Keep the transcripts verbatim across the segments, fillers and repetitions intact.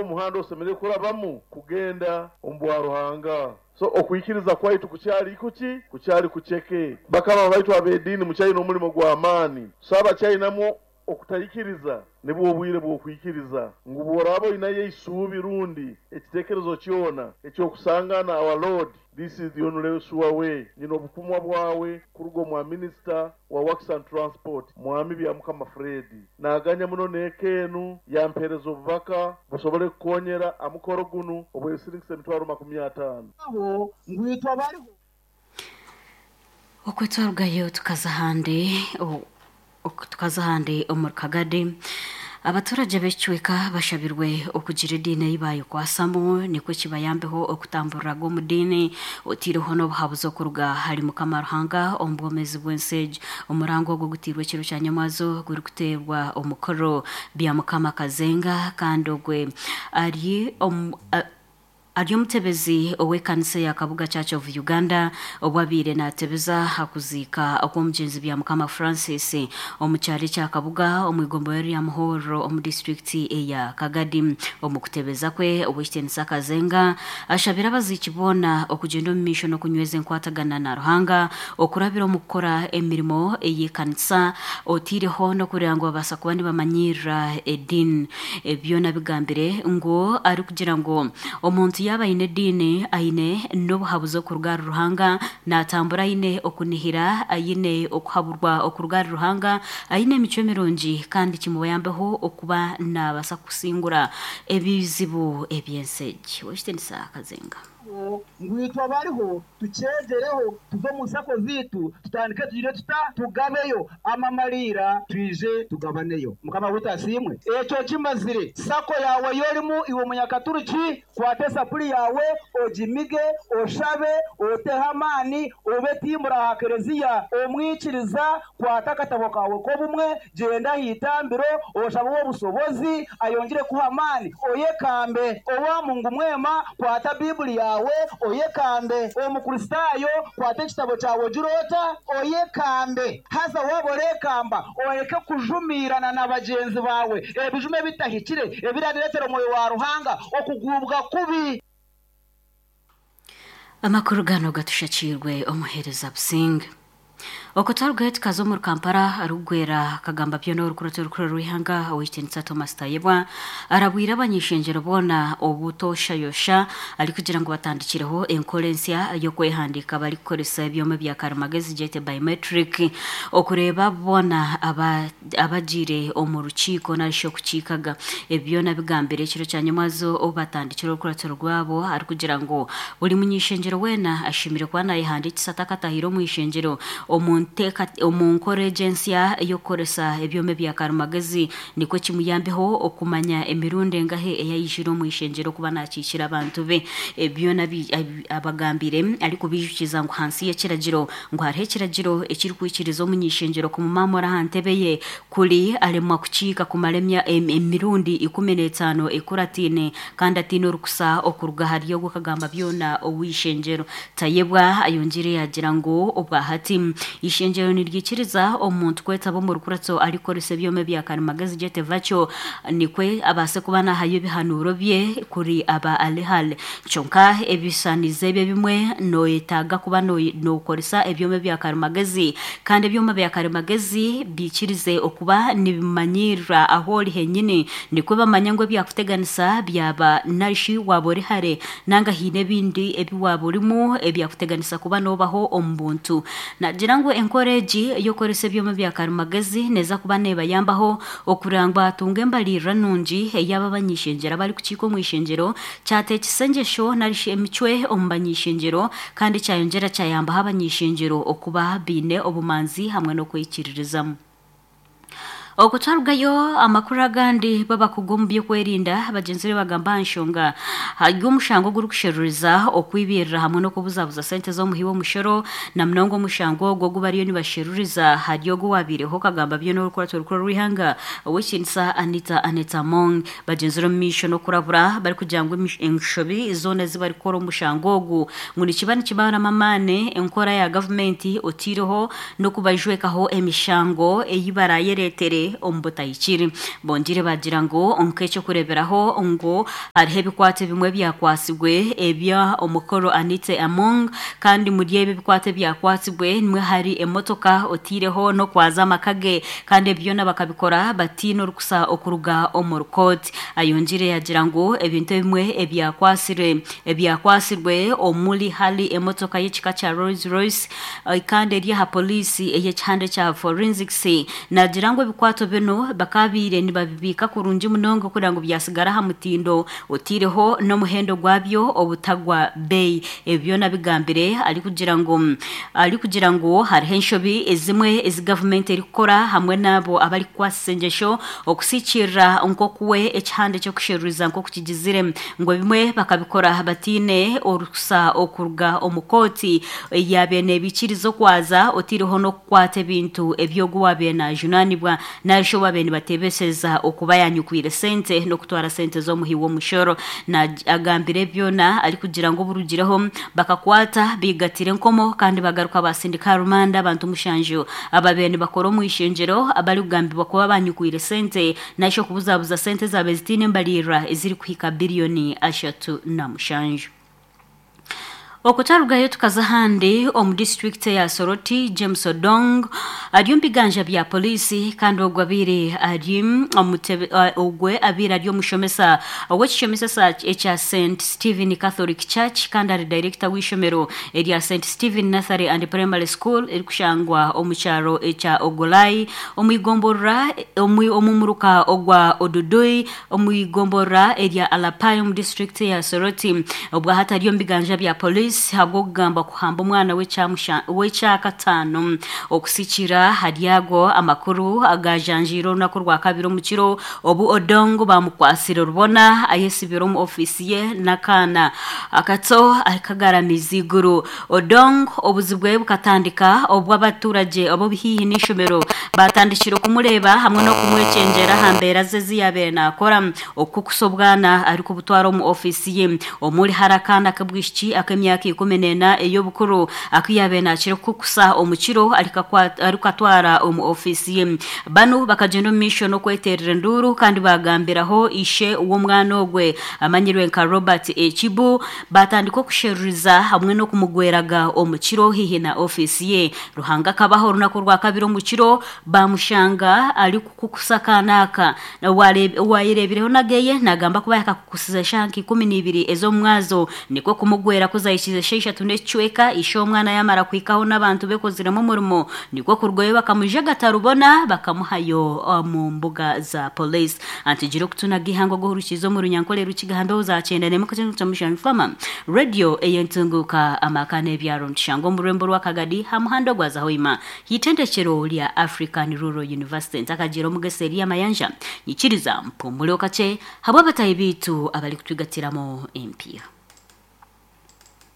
Nigwo muhanda osemere kurabamu kugenda omu bwa Ruhanga. So okwikiriza kwaitu kukyali kuki? Kukyali kuceke. Bakama baitu ab'ediini mukyalina omulimo gw'amaani. So abakyalinamu okutayikiriza nibwo obwire bw'okwikiriza ngu bw'oraaba oinayo eisuubi rundi ekiteekerezo kyona ekyokusangana our Lord, this is the only sure way. Nyina obukumwa bwawe kuruga omwa minisita wa Works and Transport Mwami Byamukama Fred, naganya muno n'eka enu yampereza obubaka busobole kukonyera amukoro gunu obwesiringisa emitwaro makumi ataano. Aho ngwitwa bariho Okwetwarugayo tukaza ahandi o- ok- tukaza ahandi omu Kagadi. Abaturage b'ekicweka bashabirwe okugira ediini ei bayekwasamu nikwo kibayambeho okutamburiraga omu diini otiireho n'obuhabuzi okuruga hari Mukama Ruhanga omu bwomezi bw'ensi egi. Omurango ogwo gutiirwe ekiro kya nyamwazo gurikuteerwa omukoro bya Mukama Kazenga, kandi ogwe ari omu a- ari omutebezi ow'ekanisa ya Kabuga Church of Uganda, obwabiire natebeza hakuziika okw'omugyenzi bya Mukama Francis omu kyaro ekya Kabuga omu igomborero rya Muhorro omu disitulikiti eya Kagadi. Omu kutebeza kwe, Owekitiinisa Kazenga ashabire abaziiki boona okugyenda omu maisho n'okunyweza enkwatagana na Ruhanga okurabira omu kukora emirimo ey'ekanisa, otiireho n'okureba ngu babaasa kuba nibamanyirira ediini. Ebyona bigambire ngu arikugira ngu omuntu yaaba aine ediini aine n'obuhabuzi okuruga ahari Ruhanga, naatambura aine okunihira, aine okuhaburwa okuruga ahari Ruhanga, aine emicwe mirungi, kandi kimubayambeho okuba naabaasa kusingura ebizibu eby'ensi egi. Owekitiinisa Kazenga. Ngwitwa bariho tukyegereho tuve omu nsako ziitu tutandike tugire tuta tugabeyo amamalira twije tugabaneyo. Mukama witu asiimwe. Ekyo kimazire sako yawe yorimu iwe munyakaturiki, kwata esapuri yawe ogimige oshabe oteho amaani obe timbura aha kereziya omwikiriza, kwata akatabo kawe k'obumwe gyenda aha itambiro oshabe obusobozi ayongere kuha amaani oyekambe. Owa Mungu mwema kwata Bibuli yawe oyekambe. Omukristaayo kwata ekitabo kyawe ogirota oyekambe. Haza waaba orekamba oreke kujumiirana na bagyenzi bawe ebijume ebitahikire ebirabireetera omwoyo wa Ruhanga okugubwa kubi. Amakuru gano gatushakiirwe omuheereza Businga. Okutwarugayo tukaza omuri Kampala. Arikugwera kagamba byona orukurato rukuru rw'ihanga Owekitiinisa Thomas Tayebwa arabwire abanyishengyero boona obutoshayosha, arikugira ngu batandikireho enkora ensya y'okwehandiika barikukoresa ebyoma bya karimagezi gyete biometric, okureeba boona aba- abagiire omu rukiiko narishi okukiikaga. Ebi byona bigambire ekiro kya nyamwazo obu batandikire orukurato rwabo, arikugira ngu buri munyishengyero weena ashemire kuba nayehandiikisa atakatahire omu ishengyero omu nteeka omu nkora egi ensya ey'okukoresa ebyoma ebya karimagezi, nikwo kimuyambeho okumanya emirundi engahe eyayijire omu ishengyero kuba nakiikira abantu be. Ebyona bi- abi- abagambire arikubijukiza ngu hansi y'ekiragiro ngu hariho ekiragiro ekirikwikiriza omunyishengyero kumumamura aha ntebe ye kuri aremwa kukiika kumara emya- em- emirundi ikumi n'etaano ekuratiine kandi atiine orukusa okuruga ahari ogwo kagamba byona ow'ishengyero. Tayebwa ayongire yagira ngu obwahati ishengyero niryikiriza omuntu kwetaba omu rukurato arikukoresa ebyoma ebya karimagezi gyete virtual, nikwe abaase kuba nahayo ebihanuuro bye kuri aba alihale. Kyonka ebishanizo ebyo ebimwe noyetaaga kuba noyi- nokoresa ebyoma ebya karimagezi, kandi ebyoma bya karimagezi biikirize okuba nibimanyirira aho ori henyini, nikwe bamanya ngu ebyakuteganisa byaba narishi waaba ori hare nanga haine ebindi ebi waaba orimu ebyakuteganisa kuba noobaho omu buntu. Nagira ngu enkora egi ey'okukoresa ebyoma bya karimagezi neeza kuba neebayambaho okureba ngu batunga embalirira nungi ey'aba abanyishengyero abarikukiika omu ishengyero, kyateekisa engyesho narishi emicwe omu banyishengyero, kandi kyayongyera kyayambaho abanyishengyero okuba baine obumanzi hamwe n'okwikiririzamu. Okutwarugayo amakuru agandi, babakugu omu by'okwerinda bagyenzi be bagamba aha nshonga y'omushango ogurikusheruriza okwibirira hamwe n'okubuzabuza sente z'omuhi w'omushoro, na munonga omushango ogwo ogu bariyo nibasheruriza hari ogwo wabiireho kagamba byona orukurato rukuru rw'ihanga Owekitiinisa Anita Anita Among. Bagyenzire omu maisho n'okurabura barikugira ngu emish- enshobi zoona ezi barikukora omushango ogu ngu nikiba nikibaramu amaani enkora ya gavumenti, otiireho n'okubajwekaho emishango ei barayereetere. sente omu butahikire. Bongire bagira ngu nk'ekyokureeberaho ngu hariho ebikwato ebimwe byakwasibwe ebya omukoro Anite Among, kandi muri ebi ebikwato ebyakwasibwe nimwe hari emotoka otiireho n'okwaza amaka ge, kandi ebyo byona bakabikora batiine orukusa okuruga omu rukooti. Ayongire yagira ngu ebintu ebimwe ebyakwasire ebyakwasirwe omuri hari emotoka y'ekika kya Rolls Royce kandi eri aha poliisi ey'ekihande kya forensics. Nagira ngu ebikwato bino bakabiire nibabibiika kurungi munonga kugira ngu byasigara aha mutindo otiireho n'omuhendo gwabyo obutagwa beeyi. Ebyo byona bigambire arikugira ngu arikugira ngu hariho enshobi ezimwe ezi gavumenti erikukora hamwe n'abo abarikukwasisa engyesho okusikirira nk'okuwe ekihande ky'okusheruriza nk'okukigizire, ngu ebimwe bakabikora batiine orukusa okuruga omu kooti yaabire neebikiriza okwaza otiireho n'okukwata ebintu ebyogu waabire najunaanibwa narishi owaabire nibateebeseza okuba yanyukwire sente n'okutwara sente z'omuhi w'omushoro. Agambire byona arikugira ngu oburugireho bakakwata bigatire enkomo kandi bagaruka basindika rumanda abantu mushanju abaabire nibakora omu ishengyero abarikugambibwa kuba banyukwire sente narishi okubuzabuza sente zaabire zitiine embaririra ezirikuhika biliyoni ashatu na mushanju. Okutarugayo tukaza ahandi omu disitulikiti ya Soroti, James Odong ari omu biganja bya poliisi, kandi ogwe abaire ari omutebe ogwe abaire ari omushomesa ow'ekishomesa ekya Saint Stephen Catholic Church, kandi ari director w'ishomero erya Saint Stephen Nursery and Primary School erikushangwa omu kyaro ekya Ogolai omu igomborora omu muruka ogwa Odudui omu igomborora erya Alapai omu disitulikiti ya Soroti. Obwo hatari omu biganja bya poliisi habw'okugamba kuhamba omwana w'ekyakataano. Okusikira haryago amakuru agajanjiire orunaku rwa kabiri omu kiro obu Odongo bamukwasire rubona ayesibire omu ofiisi ye n'akaana akato akagaramiza iguru. Odongo obuzibu bwe bukatandika obu abaturage abo haihi n'ishomero batandikire kumureeba hamwe n'okumwekyengyera aha mbeera ze ezi yaabaire naakora okukusa obwana arikubutwara omu ofiisi ye. Omuri hari akaana k'obwishiki ak'emyaka ikumi n'ena ey'obukuru aku yaabire naakira kukusa omu kiro arikukatwara omu ofiisi ye. Banu bakagenda omu maisho n'okweterera enduuru kandi bagambiraho ishe w'omwana ogwe amanyirwe nka Robert Ekibu, batandika okusheruriza hamwe n'okumugweraga omu kiro haihi na ofiisi ye. Ruhanga akabaho orunaku rwa kabiri omu kiro bamushanga arikukukusa akaana aka. Owayereebireho nageye nagamba kuba yakakukusiza eshaaha nka ikumi n'ibiri ez'omumwazo, nikwo kumugwera kuzahikize eshatu n'ekicweka ishe omwana yamara kuhikaho n'abantu bekoziremu omurimo, nikwo kurugayo bakamujagata rubona bakamuhayo omu mbuga za poliisi. Antigire okutunaga ihangwe gohurukiza omu runyankore rukigambeho zakyenda nemwe fama radio eyentunguka amaka n'ebyaro ntushanga omu rwembo rw'akagadi ha muhanda gwa Zahoima hitendekero lya African Rural University. Ntakagira omugese eri amayanja nyikiriza mpumule okache habwa abatayi biitu abarikutwigatiramo empiya.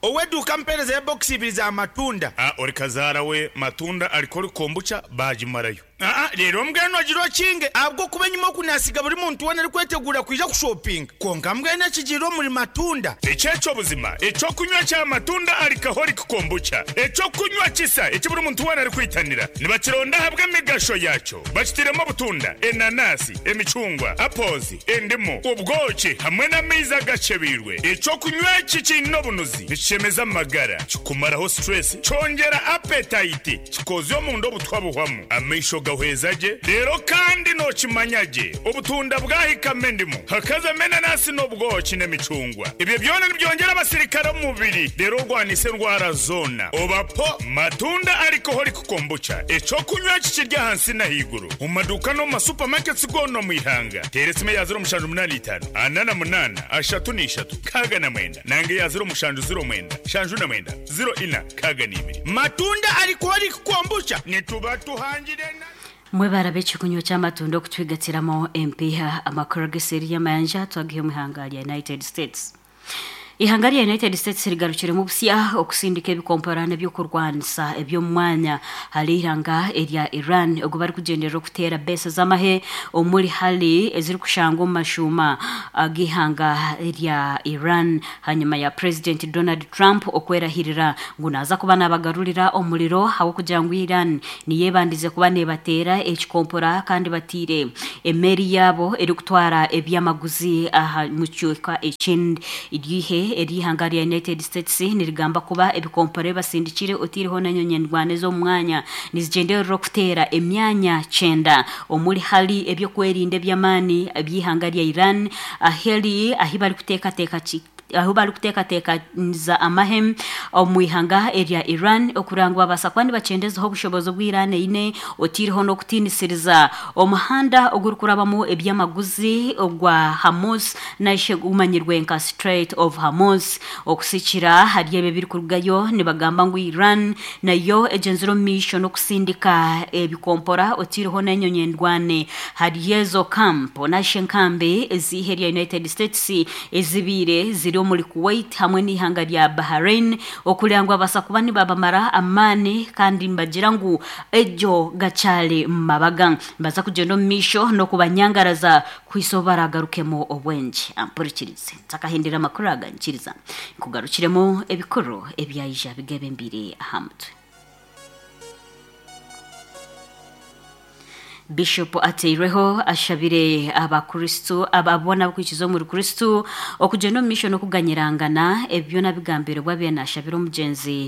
Oweduka mpereza ya box ibiri za matunda. Ah, ori kazaara we matunda alikori kombucha bagimarayo. Ah, rero mbwenu agirwa kinge abwo kuba nyuma kunasiga buri muntu wena ari kwetegura kwija kushopping. Konka mbwenu ekigiro muri matunda. Ekyekyo buzima, ekyo kunywa kya matunda alikahori kombucha. Ekyo kunywa kisa eki buri muntu wena ari kwitanira. Nibakironda habwa emigasho yakyo. Bakitiremo butunda, enanasi, emicungwa, apozi, endimu, ubwoki hamwe n'amaizi agacebirwe. Ekyo kunywa eki kiine obunuzi. Nikishemeza amagara, kikumaraho stress, kyongera appetite, kikozya omunda obutwa buhwamu. Amaisho gahweza gye, rero kandi nokimanya gye obutunda bwahikamo endimu, hakazamo enanasi n'obwoki n'emicungwa. Ibyo byona nibyongera abasirikare omu mubiri, rero orwanisa endwara zona. Obapo matunda alcoholic kombucha, ekyokunywa kikirya ahansi n'ahaiguru. Mu maduuka no mu masupamaketi goona omu ihanga. Teera esimu ya ziro mushanju munaana itaano, ana na munaana, ashatu n'ishatu, kaaga na mwenda. Nange ya ziro mushanju ziro mwenda, shanju na mwenda, ziro ina, kaaga n'ibiri. Matunda alcoholic kombucha nituba tuhangire na Mwebara b'ekikunywa ky'amatunda okutwigatiramo empiha. Amakuru g'eseri y'amayanja twagihe omu ihanga rya United States. Ihanga rya United States rigarukiremu busya okusindika ebikomporano ebyokurwanisa eby'omwanya hari ihanga erya Iran ogu barikugenderera okuteera besa z'amahe omuri hali ezirikushangwa omu mashuuma ag'ihanga rya Iran hanyuma ya President Donald Trump okwerahirira ngu naaza kuba nabagarurira omuriro ahabw'okugira ngu Iran niyebandize kuba nebateera ekikompora kandi batiire emeri yaabo erikutwara ebyamaguzi aha mu kicweka ekindi. Iryihe eryihanga rya United States nirigamba kuba ebikompore basindikire otiireho n'enyonyi endwana ez'omwanya nizigenderera okuteera emyanya kyenda omuri hali ebyokwerinda eby'amaani eby'ihanga rya Iran aheri ahi barikuteekateeka ki aho barikuteekateekaniza amahe omu ihanga erya Iran okuranga ngu babaasa kuba nibakyendezaho obushobozi obu Iran eine otiireho n'okutiinisiriza omuhanda ogurikurabamu ebyamaguzi ogwa Hormuz naishe gumanyirwe nka Strait of Hormuz. Okusikira hari ebyo ebirikurugayo nibagamba ngu Iran nayo egyenzire omu maisho n'okusindika ebikompora otiireho n'enyonyi endwane hari ezo camp naishe enkambi ez'ihe rya United States ezibiire ziri omuri Kuwait hamwe n'ihanga rya Bahrain okurira ngu babaasa kuba nibabamara amaani kandi nibagira ngu egyo gakyari mu mabaga nibaza kugyenda omu maisho n'okubanyangaraza kuhisa obu baragarukemu obwengye. Ampurikirize ntakahindira amakuru aga nkiriza nkugarukiremu ebikuru ebyaija bigebembire aha mutwe. Bishop ateireho ashabire abakristu ababona abakwikiza omuri Kristu okugenda omu maisho n'okuganyirangana ebyo nabigambire bwabye nashabira omugyenzi.